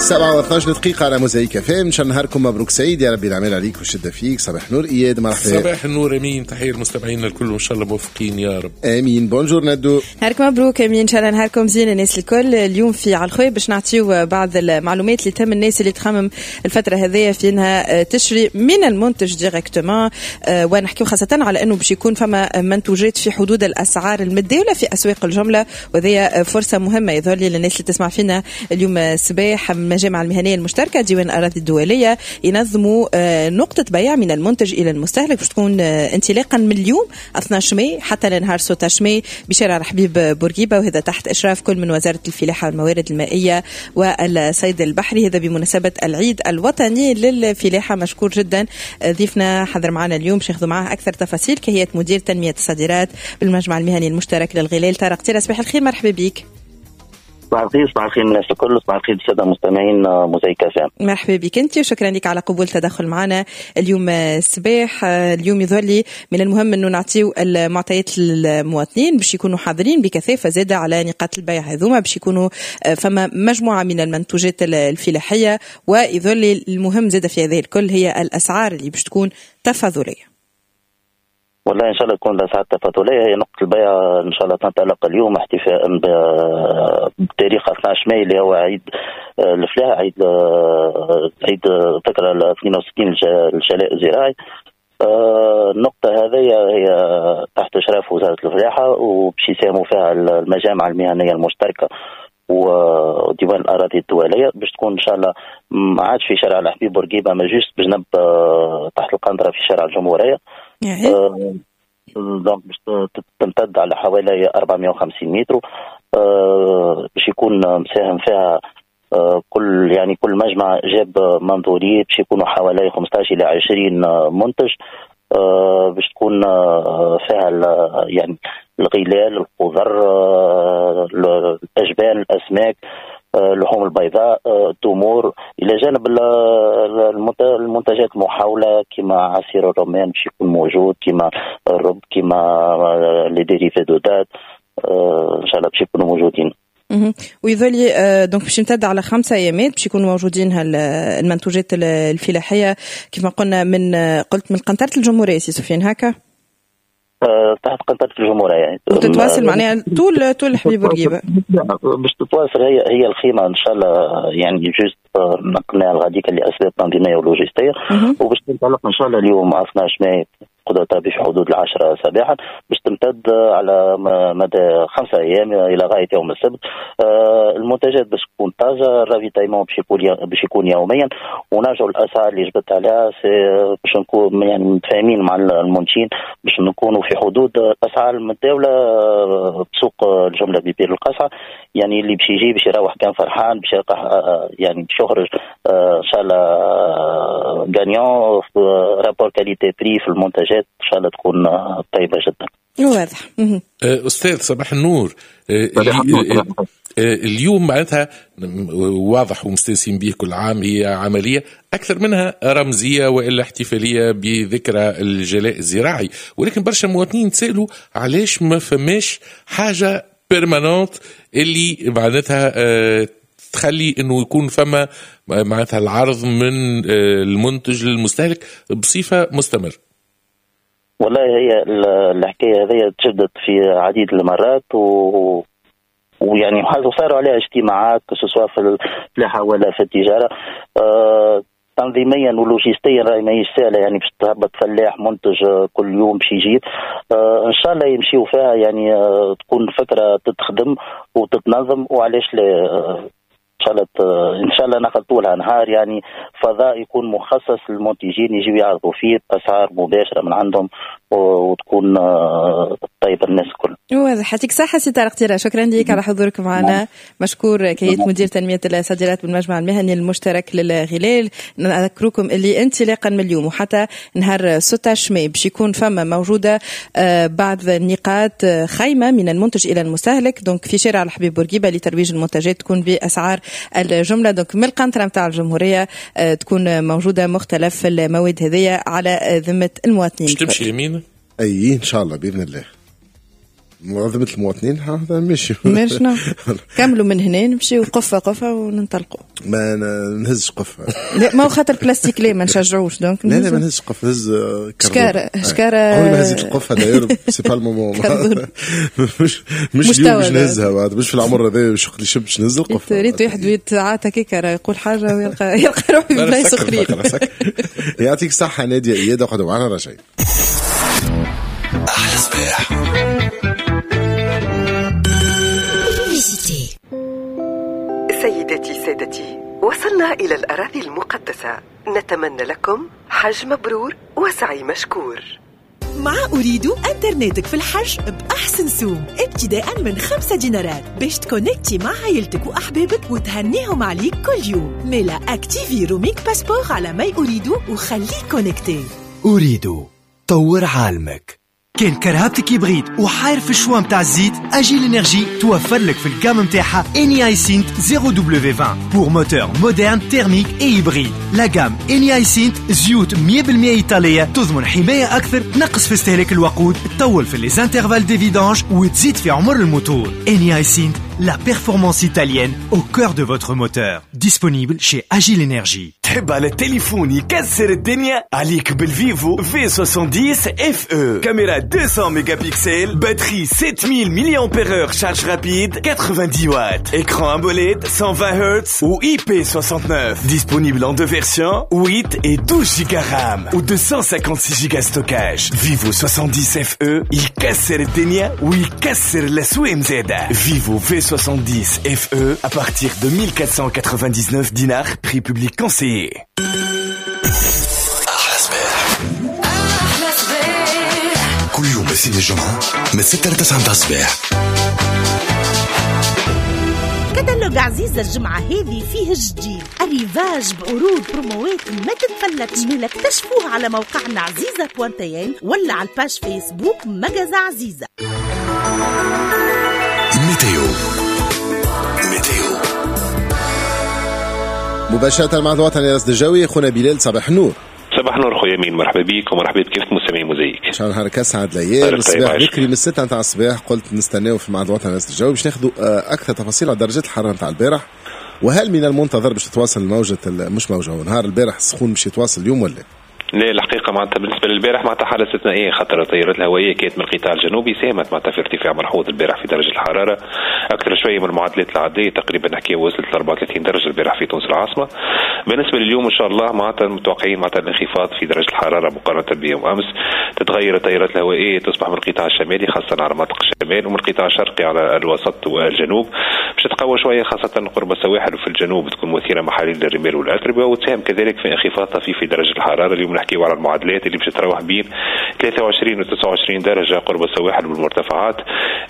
7:12 دقيقة على موزايك اف ام. ان شاء الله نهاركم مبروك سعيد يا ربي، العمل عليك والشدة فيك. صباح نور اياد، مرحبا. صباح النور امين، تحية للمستمعين الكل وان شاء الله موفقين يا رب. امين. bonjour ندو. نهارك مبروك امين، ان شاء الله نهاركم زين الناس الكل. اليوم في على الخوي باش نعطيو بعض المعلومات اللي تهم الناس اللي تخمم الفترة هذيا في انها تشري من المنتج directement، ونحكيو خاصة على انه باش يكون فما منتوجات في حدود الاسعار المتداولة في اسواق الجملة، وهذه فرصة مهمة يظهر لي للناس اللي تسمع فينا اليوم الصباح. المجامع المهنية المشتركة ديوان الأراضي الدولية ينظموا نقطة بيع من المنتج إلى المستهلك، باش تكون انطلاقا من اليوم 12 ماي حتى لنهار 16 ماي بشارع الحبيب بورقيبة، وهذا تحت إشراف كل من وزارة الفلاحة والموارد المائية والصيد البحري، هذا بمناسبة العيد الوطني للفلاحة. مشكور جدا ضيفنا حضر معنا اليوم باش ناخذ معاه أكثر تفاصيل، كهيئة مدير تنمية الصادرات بالمجمع المهني المشترك للغلال طارق تيرا. صباح الخير، مرحبا بك. صباح الخير، صباح الخير الناس الكل، صباح الخير السادة المستمعين موزايك اف ام. مرحبا بك انت وشكرا لك على قبول التدخل معنا اليوم الصباح. اليوم يظهر لي من المهم انه نعطيو المعطيات للمواطنين باش يكونوا حاضرين بكثافة زاده على نقاط البيع هذوما، باش يكونوا فما مجموعة من المنتوجات الفلاحية، ويظهر لي المهم زاده في هذه الكل هي الاسعار اللي باش تكون تفاضليه. والله ان شاء الله تكون الاسعار التفاضليه. هي نقطة البيع ان شاء الله تنطلق اليوم احتفاء بتاريخ 12 ماي اللي هو عيد الفلاحة، عيد ذكرى 62 الجلاء الزراعي. النقطة هذه هي تحت اشراف وزارة الفلاحة، وباش يساهموا فيها المجامع المهنية المشتركة وديوان الاراضي الدولية، باش تكون ان شاء الله ما عادش في شارع الحبيب بورقيبة، ما juste بجنب تحت القنطرة في شارع الجمهورية. donc باش تمتد على حوالي 450 متر، باش يكون مساهم فيها كل مجمع جاب منظوريه، باش يكونوا حوالي 15 الى 20 منتج، باش تكون فيها يعني الغلال، الخضر، الاجبان، الاسماك، اللحوم البيضاء، التمور، الى جانب المنتجات المحوله كما عصير الرمان باش يكون موجود، كما الرب، كما les dérivés de dattes، ان شاء الله باش يكونوا موجودين. ويظل donc باش يمتد على 5 ايامات باش يكونوا موجودين المنتوجات الفلاحية كيف ما قلنا من قلت من قنطرة الجمهورية سي سفيان هكا؟ تحت قنطرة الجمهورية يعني وتتواصل معناها طول الحبيب بورقيبة. باش تتواصل هي الخيمة ان شاء الله، يعني juste نقلناها لغاديك لاسباب تنظيمية ولوجستية، وباش تنطلق ان شاء الله اليوم 12 ماي قدرة في حدود 10 صباحا، باش تمتد على مدى 5 ايام الى غاية يوم السبت. المنتجات باش تكون طازة، ال ravitaillement باش يكون يوميا، ونرجعوا الاسعار اللي جبت عليها باش نكون يعني متفاهمين مع المنتجين باش نكونوا في حدود الاسعار المتداولة بسوق الجملة ببير القصعه. يعني اللي باش يجي باش يروح كان فرحان، باش يعني باش يخرج ان شاء الله gagnant rapport qualité prix في المنتجات، ان شاء الله تكون طيبة جدا. واضح. استاذ صباح النور. اليوم معناتها واضح ومستانسين به كل عام، هي عملية اكثر منها رمزية والا احتفالية بذكرى الجلاء الزراعي، ولكن برشا مواطنين تسالوا علاش ما فماش حاجة permanente اللي معناتها تخلي انه يكون فما معناتها العرض من المنتج للمستهلك بصفة مستمرة. والله هي الحكاية هذه تجدد في عديد المرات ويعني صاروا عليها اجتماعات سواء في الفلاحة ولا في التجارة. تنظيميا ولوجستيا راهي ماهيش سهلة، يعني باش تهبط فلاح منتج كل يوم باش يجيب. ان شاء الله يمشيو فيها، يعني تكون فكرة تتخدم وتتنظم، وعلاش لا ان شاء الله نخلطوا لها نهار، يعني فضاء يكون مخصص للمنتجين يجيو يعرضوا فيه باسعار مباشرة من عندهم وتكون طيبة الناس الكل. واضح. يعطيك صحة سي طارق تيرا، شكرا لك على حضورك معنا. مشكور كهيئة مدير تنمية الصادرات بالمجمع المهني المشترك للغلال. نذكركم اللي انطلاقا من اليوم وحتى نهار 16 ماي باش يكون فما موجودة بعض النقاط خيمة من المنتج الى المستهلك، donc في شارع الحبيب بورقيبة لترويج المنتجات تكون باسعار الجملة، donc من القنطرة نتاع الجمهورية تكون موجودة مختلف المواد هذية على ذمه المواطنين. باش تمشي يمين؟ اي ان شاء الله باذن الله. معظمة المواطنين هذا ماشي ماشي. كملوا من هنا نمشيو قفة قفة وننطلقوا. ما نهزش قفة. لا ما هو خاطر بلاستيك لا ما نشجعوش donc. لا لا ما نهزش قفة، نهز شكارة شكارة. عمري ما هزيت القفة d'ailleurs c'est pas le moment. مش اليوم باش نهزها بعد، مش في العمر هذا باش وقت اللي باش نهز القفة. ريت واحد يتعاطى كيكا يقول حاجة ويلقى روحه في بلايص أخرين. يعطيك الصحة نادية إياد، اقعدوا معنا راجعين. أحلى صباح. سيداتي سادتي، وصلنا إلى الأراضي المقدسة. نتمنى لكم حج مبرور وسعي مشكور. مع أريد أنترنتك في الحج بأحسن سوم ابتداء من 5 دينارات باش تكونكتي مع عائلتك وأحبابك وتهنيهم عليك كل يوم. ميلا activer roaming passeport على my Ooredoo وخليك connecté. أريد طور عالمك. كان كرهبتك hybride وحاير في ال choix متاع الزيت، Agile Energy توفر لك في ال gamme متاعها Eni iSynth 0W20 pour moteur moderne thermique et hybride. La gamme Eni iSynth زيوت 100% ايطالية تضمن حماية اكثر، تنقص في استهلاك الوقود، تطول في les intervalles de vidange وتزيد في عمر الموتور. Eni iSynth, la performance italienne au cœur de votre moteur. Disponible chez Agile Energy. تحب على التليفون يكسر الدنيا؟ عليك بال Vivo V70 FE. كاميرا 200 mégapixels, batterie 7000 mAh, charge rapide 90 watts, écran AMOLED 120 Hz ou IP69. Disponible en deux versions, 8 et 12 Go RAM ou 256 Go stockage. Vivo 70 FE يكسر الدنيا ويكسر الأسوام زادة. Vivo V70 FE à partir de 1499 dinars, prix public conseillé. أحلى صباح. أحلى صباح كل يوم الاثنين الجمعة من 6 ل 9 متاع الصباح. كتالوج عزيزة الجمعة هذه فيه جديد arrivage بعروض بروموات ما تتفلتش. ملا اكتشفوه على موقعنا عزيزة point tn ولا على ال page Facebook magasin عزيزة. météo météo مباشرة مع الوطني الرصد الجوي خونا بلال. صباح النور. صباح النور خويا مين، مرحبا بيك ومرحبا بكافة مستمعي موزايك. ان شاء الله نهارك اسعد الايام. الصباح بكري من 6 نتاع الصباح قلت نستناو في معهد الوطني للرصد الجوي باش ناخذوا اكثر تفاصيل على درجات الحرارة نتاع البارح، وهل من المنتظر باش تتواصل موجه مش موجه نهار البارح السخون باش يتواصل اليوم ولا؟ لا الحقيقة معناتها بالنسبة للبارح معناتها حاله استثنائية، خاطر التيارات الهوائية كانت من القطاع الجنوبي ساهمت معناتها في ارتفاع ملحوظ البارح في درجه الحرارة اكثر شوية من المعدلات العادية، تقريبا نحكي وصلت ل 34 درجه البارح في تونس العاصمة. بالنسبة لليوم ان شاء الله معناتها متوقعين معناتها الانخفاض في درجه الحرارة مقارنة بيوم امس. تتغير التيارات الهوائية تصبح من القطاع الشمالي خاصة على مناطق الشمال ومن القطاع الشرقي على الوسط والجنوب، باش تتقوى شوية خاصة قرب السواحل وفي الجنوب تكون مثيرة محاليل للرمال والاتربه، وتساهم كذلك في انخفاض طفيف في درجه الحرارة. اليوم نحكيو على المعادلات اللي باش تتراوح بين 23 و 29 درجه قرب السواحل والمرتفعات،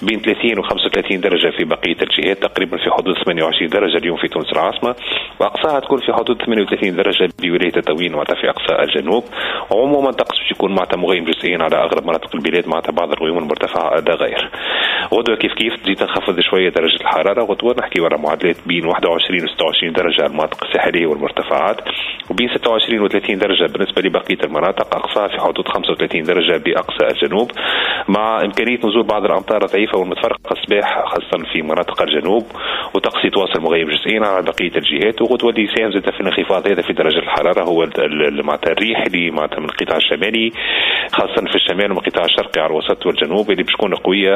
بين 30 و 35 درجه في بقية الجهات، تقريبا في حدود 28 درجه اليوم في تونس العاصمة، واقصاها تكون في حدود 38 درجه بولاية تطاوين ومعناتها في اقصى الجنوب. عموما الطقس باش يكون معناتها مغيم جزئيا على اغلب مناطق البلاد، معناتها بعض الغيوم المرتفعة لا غير. غدوه كيف كيف تزيد تنخفض شوية درجه الحرارة، غدوه نحكيو على معادلات بين 21 و 26 درجه على المناطق الساحلية والمرتفعات، وبين 26 و 30 درجه بالنسبة لبقية المناطق، اقصاها في حدود 35 درجه باقصى الجنوب، مع امكانية نزول بعض الامطار الضعيفة والمتفرقه الصباح خاصة في مناطق الجنوب، وطقس يتواصل مغيم جزئيا على بقية الجهات. وغدوه اللي يساهم زاد في الانخفاض هذا في درجه الحرارة هو معناتها الريح اللي معناتها من القطاع الشمالي خاصة في الشمال ومن القطاع الشرقي على الوسط والجنوب، اللي باش تكون قوية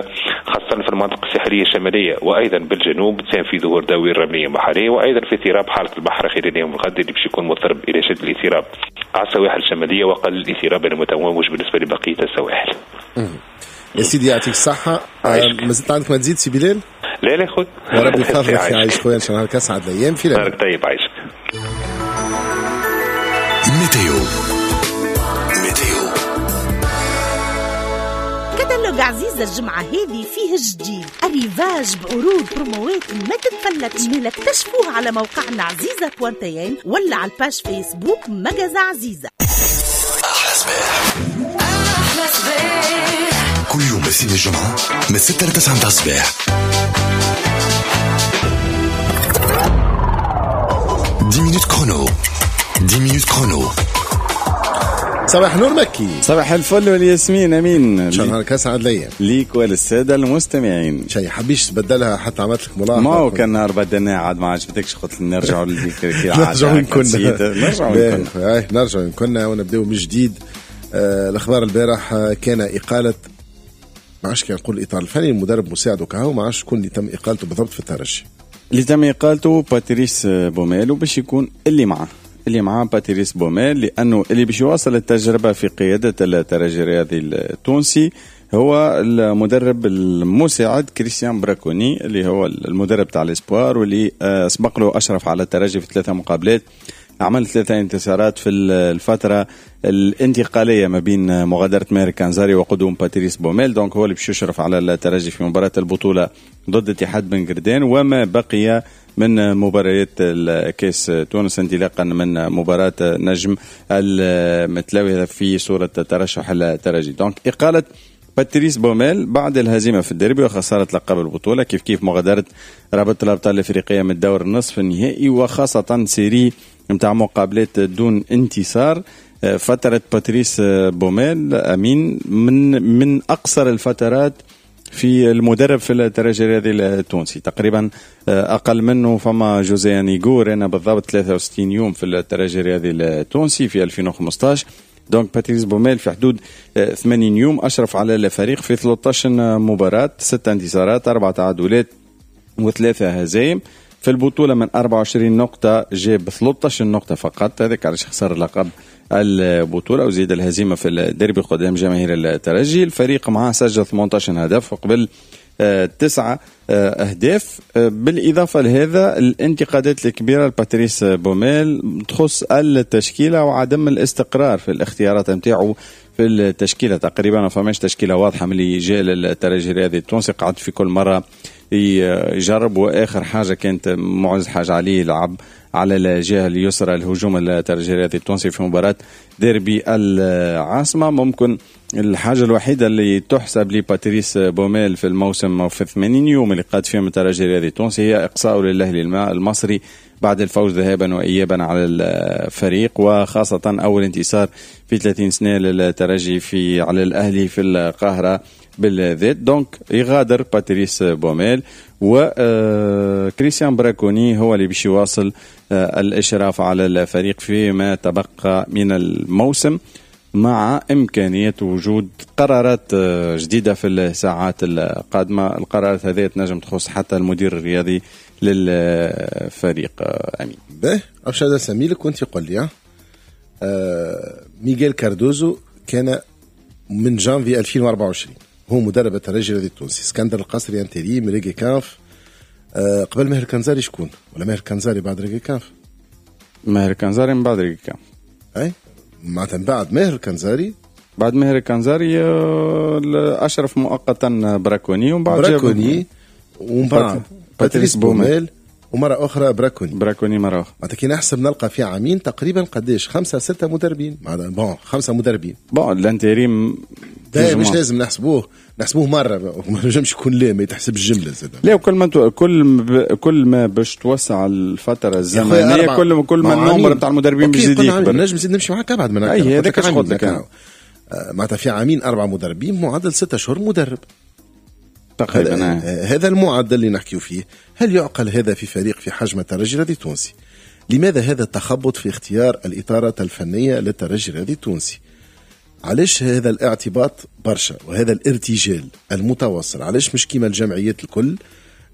خاصة في المناطق الساحلية الشمالية وايضا بالجنوب، تساهم في ظهور دوائر رمليه محليه، وايضا في اضطراب حاله البحر خلال يوم الغد اللي باش يكون مضطرب الى شد الاضطراب على السواحل الشمالية وقل الاضطراب المتموج بالنسبة لبقية السواحل. يا سيدي يعطيك الصحة. ما زلت عندك ما تزيد سي بلال؟ لا لا خويا، وربي يفضلك، يعيش خويا، ان شاء الله نهارك اسعد الايام. في نهارك طيب عايشك. météo météo كتالوج عزيزة الجمعة هذه فيه جديد arrivage بعروض بروموات ما تتفلتش. ملا اكتشفوه على موقعنا عزيزة point tn ولا على ال page Facebook magasin عزيزة. أحلى صباح. أحلى صباح كل يوم الاثنين الجمعة من 6 ل 9 متاع الصباح. 10 minutes chrono. 10 minutes chrono. صباح نور مكي. صباح الفل والياسمين. امين، ان شاء الله نهارك اسعد الايام ليك وللساده المستمعين. شيء حبيش تبدلها حتى عملت لك ملاحظة. ما هو كان نهار بدلناه عاد ما عجبتكش، قلت نرجعوا للذكر. نرجعوا كنا، نرجعوا كنا ونبداو من جديد. الاخبار البارح كان اقاله، ما عادش كان نقول الاطار الفني، المدرب مساعدة كهو، ما عادش شكون اللي تم اقالته بالضبط في الترجي. اللي تم اقالته باتريس بوميل، وباش يكون اللي معاه باتريس بوميل، لانه اللي باش يواصل التجربة في قيادة الترجي الرياضي التونسي هو المدرب المساعد كريستيان براكوني، اللي هو المدرب تاع ال espoirs، واللي سبق له اشرف على الترجي في 3 مقابلات، عمل 3 انتصارات في الفترة الانتقالية ما بين مغادرة ماهر كانزاري وقدوم باتريس بوميل. donc هو اللي باش يشرف على الترجي في مباراة البطولة ضد اتحاد بن قردان، وما بقي من مباريات الكاس تونس انطلاقا من مباراة نجم المتلاوي في صورة ترشح الترجي. donc إقالة باتريس بوميل بعد الهزيمة في الديربي وخسارة لقب البطولة، كيف كيف مغادرة رابطة الأبطال الأفريقية من الدور النصف النهائي، وخاصة série متاع مقابلات دون انتصار. فترة باتريس بوميل أمين من أقصر الفترات في المدرب في الترجي الرياضي التونسي، تقريبا أقل منه فما جوزيه نيغور، أنا بالضبط 63 يوم في الترجي الرياضي التونسي في 2015. donc باتريس بوميل في حدود 80 يوم أشرف على الفريق في 13 مباراة، 6 انتصارات، 4 تعادلات و3 هزايم. في البطولة من 24 نقطة جاب 13 نقطة فقط، هذاك علاش خسر لقب البطولة، وزيد الهزيمة في الديربي قدام جماهير الترجي. الفريق معاه سجل 18 هدف وقبل 9 أهداف. بالإضافة لهذا الانتقادات الكبيرة لباتريس بوميل تخص التشكيلة وعدم الاستقرار في الاختيارات نتاعو في التشكيلة. تقريبا ما فماش تشكيلة واضحة من اللي جاء للترجي الرياضي التونسي، قعد في كل مرة يجرب، وآخر حاجة كانت معز حاجة عليه لعب على الجهة اليسرى الهجوم الترجي الرياضي التونسي في مباراة ديربي العاصمة. ممكن الحاجة الوحيدة اللي تحسب لباتريس بوميل في الموسم وفي 80 يوم اللي قاد فيهم الترجي الرياضي التونسي هي إقصاؤه للأهلي المصري بعد الفوز ذهابا وإيابا على الفريق، وخاصة أول انتصار في 30 سنة للترجي في على الأهلي في القاهرة بالذات. donc يغادر باتريس بوميل، وكريستيان براكوني هو اللي باش يواصل الإشراف على الفريق فيما تبقى من الموسم، مع إمكانية وجود قرارات جديدة في الساعات القادمة. القرارات هذه تنجم تخص حتى المدير الرياضي للفريق. أمين به أبشر سميلك وانت قل لي. ميغيل كاردوزو كان من جانفي 2024 هو مدرب الترجي الرياضي التونسي. اسكندر القصري intérim، ريجي كانف. قبل ماهر كنزاري شكون؟ ولا ماهر كنزاري بعد ريجي كانف؟ ماهر كنزاري من بعد ريجي كانف. اي معناتها من بعد ماهر كنزاري، بعد ماهر كنزاري اشرف مؤقتا براكوني، ومن بعد براكوني، ومن بعد باتريس بوميل، ومرة اخرى براكوني مرة اخرى. معناتها كي نحسب نلقى في عامين تقريبا قداش 5 6 مدربين، معناتها bon 5 مدربين. bon ال intérim ده مش لازم نحسبوه مرة، ما نجمش يكون لا ما يتحسب الجملة زاد. لا وكل كل ما باش توسع الفترة الزمنية كل ما ال nombre نتاع المدربين باش يزيد يكبر. نجم نزيد نمشي معاك ابعد من هكا. اي هذاك اش قلت لك. معناتها في عامين 4 مدربين معدل 6 شهور مدرب تقريبا. هذا المعدل اللي نحكيو فيه. هل يعقل هذا في فريق في حجم الترجي الرياضي التونسي؟ لماذا هذا التخبط في اختيار الإطارة الفنية للترجي الرياضي التونسي؟ علاش هذا الاعتباط برشا وهذا الارتجال المتواصل؟ علاش مش كيما الجمعيات الكل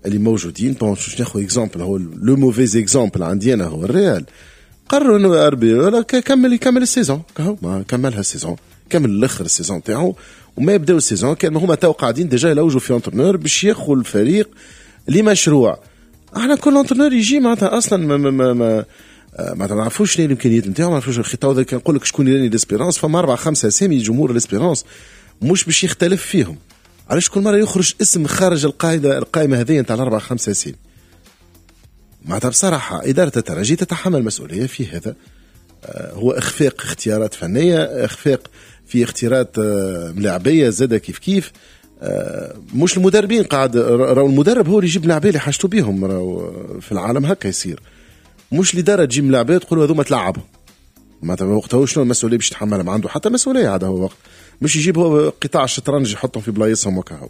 اللي موجودين؟ bon باش ناخذ exemple، هو le mauvais exemple عندي انا هو الريال. قرروا انه اربي ولا كمل ال saison، ما كملها ال saison، كمل الاخر ال saison تاعو، وما يبداو ال saison كان هما تو قاعدين déjà يلوجوا في entraîneur باش ياخذوا الفريق لمشروع. احنا كل entraîneur يجي معناتها اصلا ما نعرفوش شنو الامكانيات نتاعو، ما نعرفوش الخطة. وذا كان نقول لك شكون اللي l'Espérance، فما 4 5 اسامي جمهور l'Espérance مش باش يختلف فيهم. علاش كل مرة يخرج اسم خارج القائمة هذه نتاع 4 5 اسامي؟ معناتها بصراحة ادارة الترجي تتحمل مسؤولية في هذا. هو اخفاق اختيارات فنية، اخفاق في اختيارات ملاعبيه زاده كيف كيف. مش المدربين قاعد، راهو المدرب هو اللي يجيب لاعبيه اللي حاجته بيهم، راهو في العالم هكا يصير. مش الادارة تجيب لاعبيه تقول هذوما تلعبهم. معناتها وقتها شنو المسؤولية باش يتحملها؟ ما عنده حتى مسؤولية عاد هو وقت مش يجيب هو قطاع الشطرنج يحطهم في بلايصهم وكهو.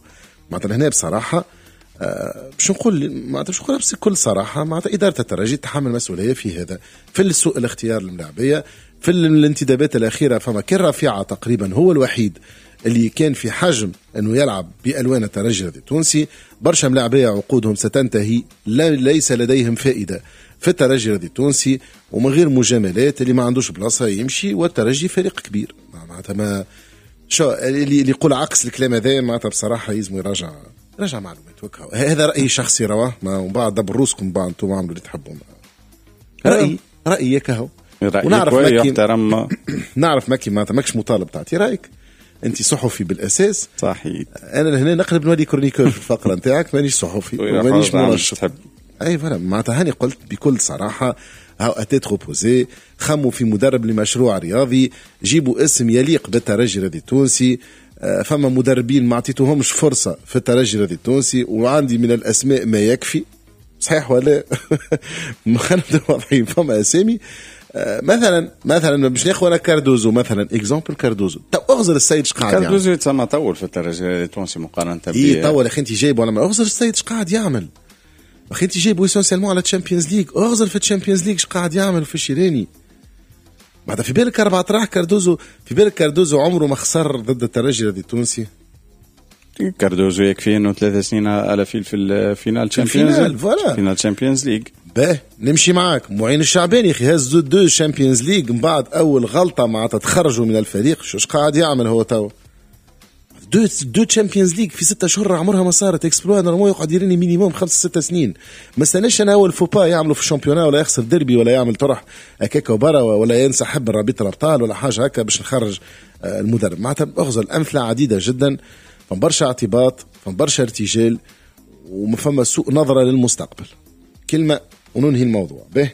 معناتها هنا بصراحة باش نقول معناتها باش نقول بكل صراحة معناتها ادارة الترجي تتحمل مسؤولية في هذا، في سوء الاختيار للملاعبيه، في الانتدابات الاخيرة. فما كان رفيعة تقريبا هو الوحيد اللي كان في حجم انه يلعب بالوان الترجي التونسي. برشا ملاعبيه عقودهم ستنتهي، ليس لديهم فائدة في الترجي التونسي، ومن غير مجاملات اللي ما عندوش بلاصة يمشي. والترجي فريق كبير معناتها ما شو اللي يقول عكس الكلام هذا معناتها بصراحة يلزم يراجع معلومات وكهو. هذا رايي شخصي رواه، ومن بعد دبر روسكم بعد انتم عملوا اللي تحبوا. رايي كهو، ونعرف ماكي نعرف ماكي معناتها ماكش مطالب تعطي رايك، انت صحفي بالاساس. صحيح. انا لهنا نقلب نولي chroniqueur في الفقرة نتاعك، مانيش صحفي ومانيش منشط. اي voilà معناتها هاني قلت بكل صراحة هاو à tête reposée، خموا في مدرب لمشروع رياضي، جيبوا اسم يليق بالترجي الرياضي التونسي. فما مدربين ما عطيتوهمش فرصة في الترجي الرياضي التونسي، وعندي من الاسماء ما يكفي. صحيح ولا؟ خلينا نبداو واضحين، فما اسامي مثلا باش ناخذ انا كاردوزو مثلا، exemple كاردوزو. تو اغزر السيد اش قاعد يعمل. كاردوزو يتسمى طول في الترجي التونسي مقارنة ب اي طول يا اخي انت جايبه ولا ما اغزر السيد اش قاعد يعمل. اخي انت جايبه essentiellement على Champions League، اغزر في Champions League اش قاعد يعمل في الشيراني. بعد في بالك اربع اطراح كاردوزو، في بالك كاردوزو عمره ما خسر ضد الترجي التونسي. كاردوزو يكفي انه 3 سنين على في ال finale Champions، finale Champions League. باه نمشي معاك. معين الشعباني اخي هز 2 Champions League من بعد اول غلطه معناتها تخرجوا من الفريق. شو قاعد يعمل هو تو؟ deux Champions League في 6 اشهر عمرها ما صارت exploit. normalement يقعد يريني minimum 5-6 سنين. ما استناش انا اول faux pas يعملوا في ال championnat ولا يخسر ديربي ولا يعمل طرح هكاك وبرا ولا ينسحب من رابطه الابطال ولا حاجة هكا باش نخرج المدرب. معناتها اغزل امثلة عديدة جدا، فما برشا اعتباط، فما برشا ارتجال، وما فما سوء نظره للمستقبل. كلمة وننهي الموضوع به.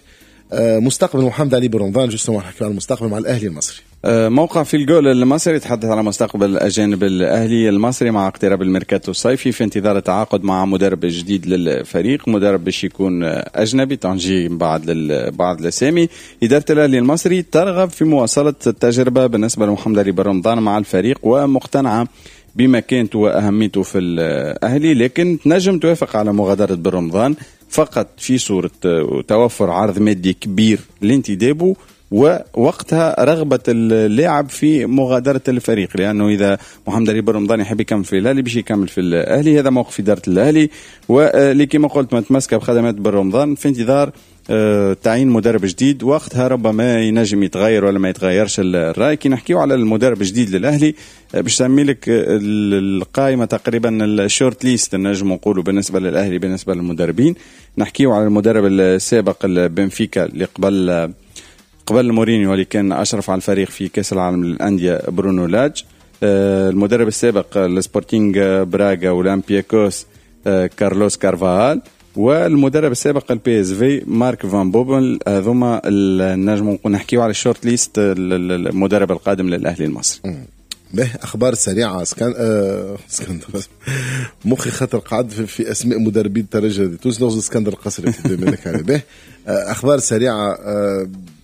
مستقبل محمد علي بن رمضان، justement نحكي على المستقبل مع الاهلي المصري. موقع في الجول المصري يتحدث على مستقبل اجانب الاهلي المصري مع اقتراب الميركاتو الصيفي، في انتظار التعاقد مع مدرب جديد للفريق، مدرب باش يكون اجنبي تنجي من بعد بعض الاسامي. ادارة الاهلي المصري ترغب في مواصلة التجربة بالنسبة لمحمد علي بن رمضان مع الفريق، ومقتنعه بمكانته واهميته في الاهلي، لكن تنجم توافق على مغادرة بن رمضان فقط في صوره توفر عرض مادي كبير لانتدابه، ووقتها رغبة اللاعب في مغادرة الفريق، لأنه إذا محمد علي بن رمضان يحب يكمل في الأهلي باش يكمل في الأهلي. هذا موقف إدارة الأهلي، واللي كما قلت متمسكة بخدمات بن رمضان في انتظار تعيين مدرب جديد، وقتها ربما ينجم يتغير ولا ما يتغيرش الرأي. كي نحكيو على المدرب الجديد للأهلي باش نسمي لك القائمة تقريبا ال short list نجم نقولوا بالنسبة للأهلي بالنسبة للمدربين. نحكيو على المدرب السابق البنفيكا اللي قبل مورينيو اللي كان أشرف على الفريق في كأس العالم للأندية برونو لاج، المدرب السابق لسبورتينغ براغا وأولمبياكوس كارلوس كارفاهال، والمدرب السابق ال PSV مارك فان بوبل. هذوما النجم نحكيو على ال short list المدرب القادم للأهلي المصري. به اخبار سريعة. اسكندر مخي خاطر قعد في اسماء مدربين الترجي تونس، نغزو اسكندر القصري في عليه. به اخبار سريعة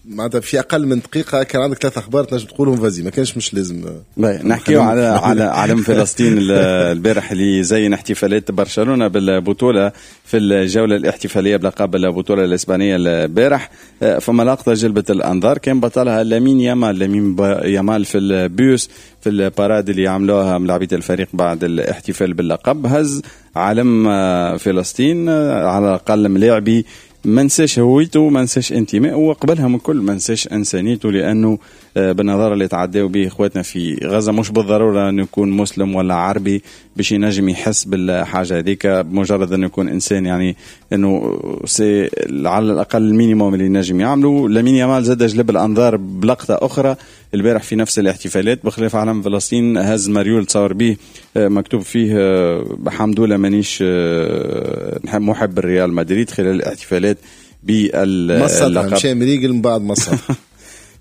معناتها في اقل من دقيقة كان عندك 3 اخبار تنجم تقولهم vas-y، ما كانش مش لازم. نحكيو على علم فلسطين البارح اللي زين احتفالات برشلونة بالبطولة في الجولة الاحتفالية بلقب البطولة الاسبانية البارح. فما لقطة جلبت الانظار كان بطلها لامين يامال، لامين يامال في البيوس في ال parade اللي عملوها ملاعبيه الفريق بعد الاحتفال باللقب، هز علم فلسطين على الاقل ملاعبي ما نساش هويته، ما نساش انتمائه، وقبلها من كل ما نساش انسانيته، لانه بالنظر اللي تعداو به اخواتنا في غزة مش بالضرورة انه يكون مسلم ولا عربي باش ينجم يحس بالحاجة هذيك، بمجرد انه يكون انسان، يعني انه c'est على الاقل ال minimum اللي ينجم يعمله. لامين يامال زاد جلب الانظار بلقطة اخرى البارح في نفس الاحتفالات، بخلاف علم فلسطين هز مريول تصور به مكتوب فيه الحمد لله مانيش محب الريال مدريد خلال الاحتفالات باللقب. مشى مريقل من بعد مصر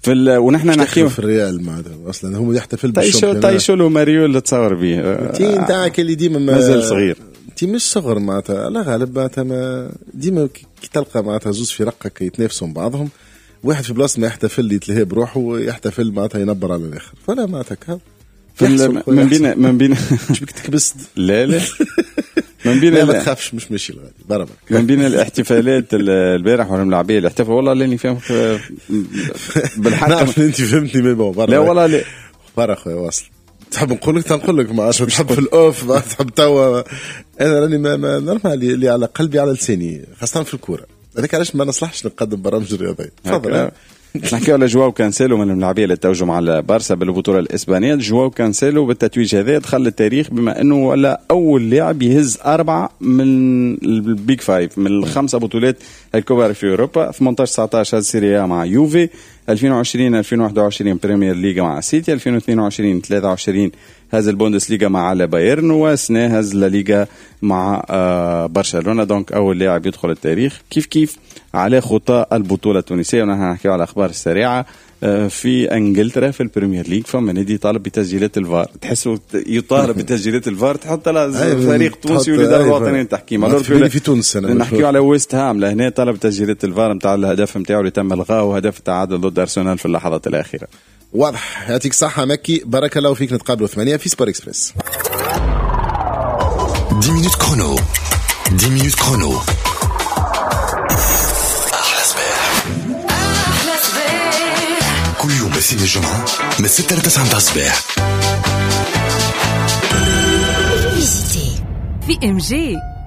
في ونحن نحكيو في الريال معناتها اصلا هم يحتفل بال championnat. طيشوا له مريول تصور به انت نتاعك اللي ديما مازال صغير، انت مش صغر معناتها لا غالب معناتها ما ديما كي تلقى معناتها زوز فرق يتنافسوا بعضهم واحد في بلاصة ما يحتفل يتلهي بروحه، يحتفل معناتها ينبر على الاخر، فلا معناتها من بين مش بك تكبست. لا لا من بين ما تخافش مش ماشي الغادي. من بين الاحتفالات البارح والملاعبيه اللي احتفلوا، والله لاني فاهم بالحق. نعرف انت فهمتني mais bon. لا والله لا برا خويا واصل. تحب نقول لك تنقول لك، ما عادش تحب في ال off، ما تحب توا. انا راني ما normal اللي على قلبي على لساني، خاصة في الكورة. هذاك علاش ما نصلحش نقدم برامج رياضية. تفضل. نحكيو على جواو كانسيلو من الملاعبيه اللي توجوا مع البارسا بالبطولة الاسبانية. جواو كانسيلو بالتتويج هذا دخل التاريخ بما انه ولا اول لاعب يهز 4 من ال Big Five، من الخمسة بطولات الكبار في اوروبا. 18 19 هز Serie A مع يوفي، 2020 2021 Premier League مع سيتي، 2022 23 هز البوندسليغا مع بايرن، وسنة هز لا ليغا مع برشلونة. donc اول لاعب يدخل التاريخ كيف كيف على خطى البطولة التونسية. ونحن نحكيو على الاخبار السريعة في انجلترا في ال Premier League فما نادي طالب بتسجيلات الفار، تحسوا يطالب بتسجيلات الفار، تحط فريق تونسي والادارة الوطنية للتحكيم. في تونس نحكيو على ويست هام لهنا طلب تسجيلات الفار نتاع الهدف نتاعو اللي تم الغاءه، وهدف التعادل ضد ارسنال في اللحظات الاخيرة. واضح، يعطيك الصحة مكي، بارك الله فيك. نتقابلوا 8 في Sport Express. 10 minutes chrono، 10 minutes chrono. أحلى صباح، أحلى صباح، كل يوم الاثنين الجمعة من 6 ل 9 متاع الصباح. في MG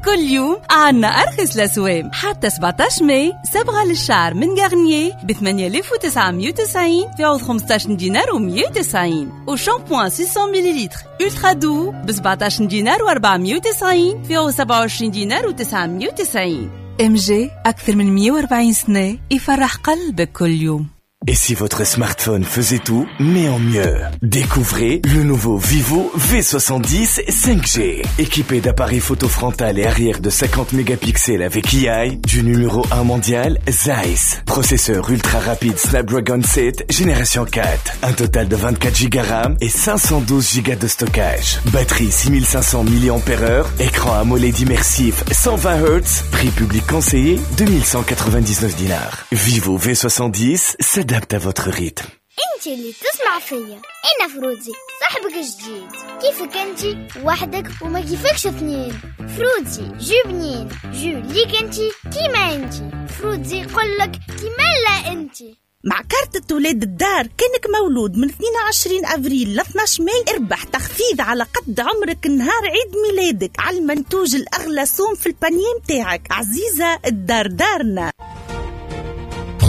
كل يوم عنا أرخص الأسوام، حتى 17 ماي صبغة للشعر من Garnier ب 8990 في عوض 15 دينار و190، وشامبوان 600 مليلتر Ultra Doux ب 17 دينار و490 في عوض 27 دينار و990. MG أكثر من 140 سنة يفرح قلبك كل يوم. Et si votre smartphone faisait tout, mais en mieux? Découvrez le nouveau Vivo V70 5G. Équipé d'appareils photo frontal et arrière de 50 mégapixels avec AI, du numéro 1 mondial, Zeiss. Processeur ultra rapide Snapdragon 7, génération 4. Un total de 24 Go RAM et 512 Go de stockage. Batterie 6500 mAh, écran AMOLED immersif 120 Hz. Prix public conseillé 2199 dinars. Vivo V70 s'adapte à votre rythme. انت اللي تسمع فيا، انا فروزي صاحبك الجديد. كيفك انت وحدك وما كيفكش اثنين. فروزي jus بنين، jus ليك انت كيما انت. فروزي يقولك كيما لا انت. مع كارت ولاد الدار كانك مولود من 22 أفريل ل 12 ماي اربح تخفيض على قد عمرك نهار عيد ميلادك على المنتوج الأغلى سوم في ال panier متاعك. عزيزة الدار دارنا.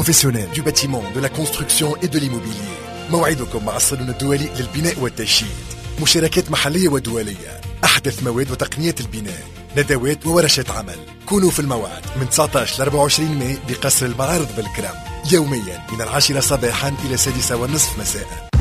Professionnels du bâtiment, de la construction et de l'immobilier. موعدكم مع الصالون الدولي للبناء والتشييد. مشاركات محلية ودولية، أحدث مواد وتقنيات البناء، ندوات وورشات عمل. كونوا في الموعد من 19 ل 24 ماي بقصر المعارض بالكرم، يوميا من 10 صباحا إلى 6:30 مساء.